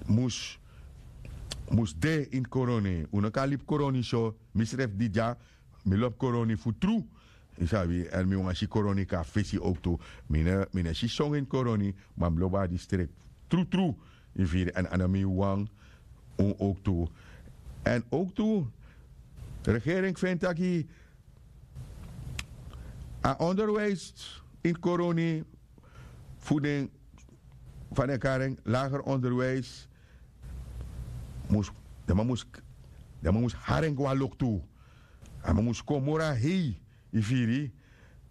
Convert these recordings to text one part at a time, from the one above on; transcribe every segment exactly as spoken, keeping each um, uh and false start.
mus mus de ini koroni. Un no kan libi koroni so. Mi srefi di dya, mi lobi koroni fu tru. Yu sabi, èn mi wani si koroni kon na fesi owktu. Mi no e si songu ini koroni, ma mi lobi a distrikti trutru. Yu firi, èn a no mi wawan. Un owktu. Èn owktu, regering feni taki a onderwijs ini koroni fu den, fa den e kari en, lager onderwijs, mus den man mus den man mus hari en go na loktu. A man mus kon moro na hei. Yu firi?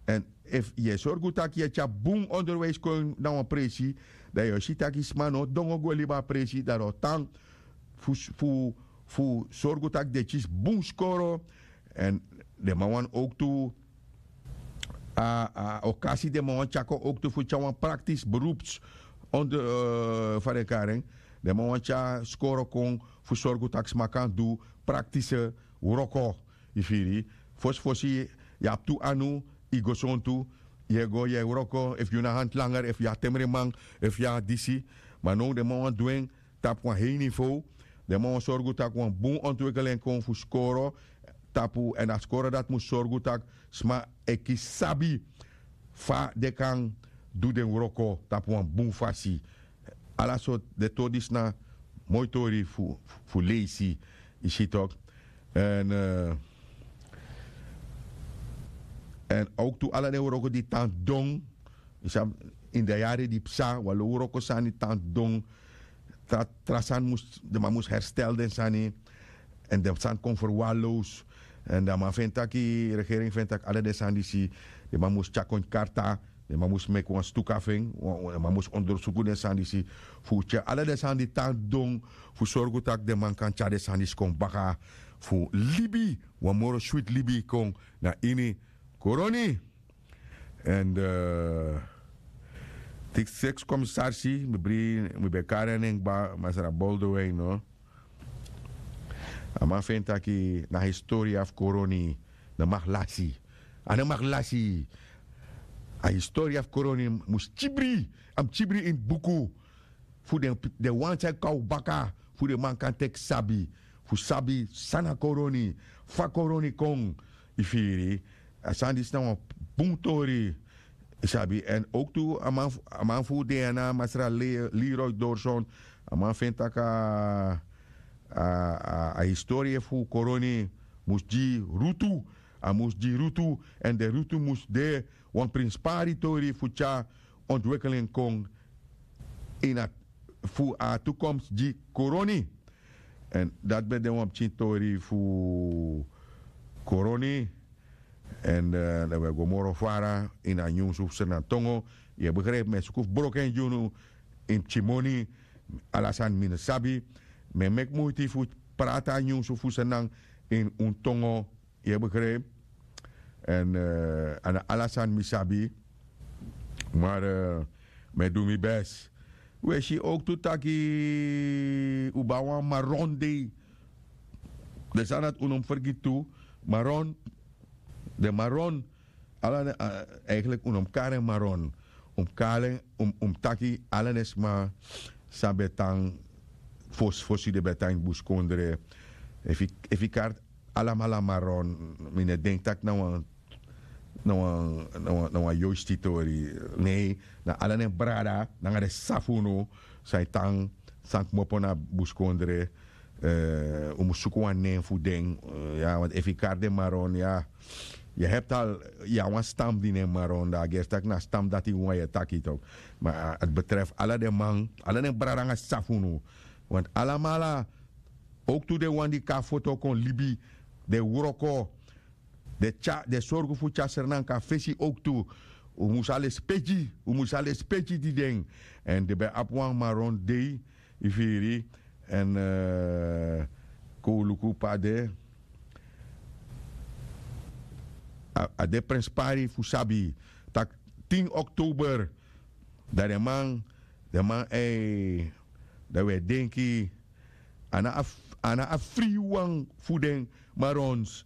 Èn efu yu e sorgu tak' yu e tyari bun onderwijs kon na wan presi, dan yu o si tak' yu sma no o dongo go libi a presi, dan den o tan fu fu fu sorgu tak' den kisi bun skoro. Èn den man wani owktu a okasi den man wani tyari kon owktu fu tyari wan praktis berups, fa den kari en. Den man wani tyari skoro kon fu sorgu tak' sma kan du praktise wroko. Yu firi? Fosifosi yu abi tu anu, yu gesontu, yu e go yu e wroko, efu yu na hanti langer efu yu na temreman, efu yu na disi. Ma now den man wani du en tapu wan hei nivow. Den man wani sorgu tak' wan bun ontwikkel en kon fu skoro tapu èn a skoro dati mus sorgu tak' sma e kisi sabi fa den kan du den wroko tapu wan bun fasi. Ala sortu den tori disi na moi tori fu fu leisi. Yu si toki? Èn èn owktu ala den wroko di tan don. Yu sabi, ini den yari di psa wan lo wroko sani tan don. Tra tra sani mus den man mus herstel den sani. Èn den sani kon ferwalos. Èn dan a man feni tak' regering feni tak' ala den sani disi den man mus tyari kon ini karta. Den man mus meki wan stuka fu en. Den man mus ondersuku den sani disi fu tyari ala den sani di tan don, fu sorgu tak' den man kan tyari den sani disi kon baka fu libi wan moro switi libi kon na ini koroni. Èn disi seks komisarsi, mi bri mi ben kari en nen kba masra boldo wei no. A man feni taki na historia fu koroni no maki lasi. A no maki lasi. A historia fu koroni mus kibri. A mus kibri ini buku fu den wan san e kon na un baka, fu den man kan teki sabi, fu sabi san na koroni, fa koroni kon. Yu firi? A sani disi na wan bun tori. Yu sabi èn owktu a man fu un de ya na masra leroy dorson. A man feni tak' a a historie fu koroni mus gi rutu. A mus gi rutu. Èn den rutu mus de wan prinspari tori fu tyari ontwikkel en kon ini a fu a tukomsi gi koroni. Èn dati ben de wan pikin tori fu koroni. Èn dan wi e go moro fara ini a nyunsu fu srnantongo. Yu e begripi mi e suku fu broko en gi unu ini pikin moni. Ala sani mi no sabi. Mi e meki muiti fu prati a nyunsu fu srnan ini un tongo. Yu e begripi? Èn a na ala sani mi sabi. Mar mi e du mi bes. Wi e si owktu taki un ben abi wan maron dei. Den sani dati un no mus fergiti tu. Maron. Den maron. Ala den eigenlik un no mus kari en maron. Un mus kari en. Un mus taki ala den sma san ben tan fosi fosi den ben tan ini buskondre. Efu yu kari alamala maron, mi no e denki tak' na wan na wan na wan yoisti tori. Nei, na ala den brada nanga den sisa fu unu san e tan san kmopo na buskondre. Un mus suku wan nen fu den. Ya want efu yu kari den maron ya, yu hebi tal yu na wan stam di nen maron dan a gersi tak' na a stam dati wan yu e taki tok. Ma a betrefi ala den man, ala den brada nanga sisa fu unu. Want alamala owktu den wan di kon na foto kon libi, den wroko, den tyari den sorgu fu tyari srnan kon na fesi owktu. Un mus a lespeki un mus a lespeki gi den. Èn den ben abi wan maron dei. Yu firi? Èn kon un luku pe a de. A de prenspari fu sabi tak' tin oktober, dan den man den man ei, dan wi e denki a na a fri wan fu den marons.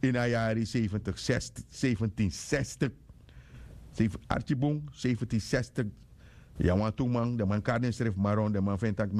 Ini a yari seifentik sestik seifentin sestik. Arki bun seifentin sestik. Ya wantu man den man kari densrefi maron den man feni tak' mi